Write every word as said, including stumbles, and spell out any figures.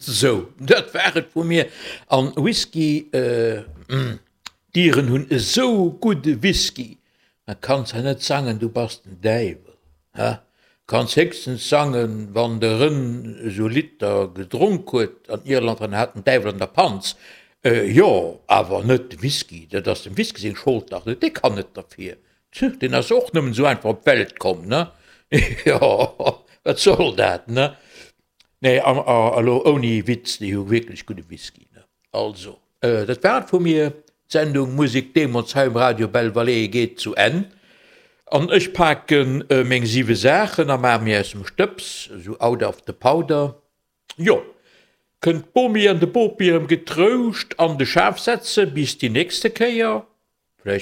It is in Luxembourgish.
Sou, dat war et vu mir. An Whisky, d'Iren hunn esou gudde Whisky, da kanns de net sangen, du bass den Däiwel, he? Kanns héchstens sangen, wann de Rën esou Liter gedronk huet an Irland, dann hat den Däiwel an der Panz. Jo, awer net de Whisky, dat ass dem Whisky seng Schold dach net, dee kann net derfir, deen ass och nëmmen esou einfach op d'Welt komm, ne? Jo, wat soll dat, ne? Nee, elo ouni Witz, déi hu wierklech gudde Whisky, ne? Also, dat war et vu mir. D'Sendung Musek deemools hei um Radio Belle Vallée geet zu Enn. An ech pake meng siwe Saachen a maache mir aus dem Stëbs, esou out of the powder. Jo, kënnt d'Bomi an de Bopi erëm getrouscht an de Schaf setze bis déi nächste Kéier.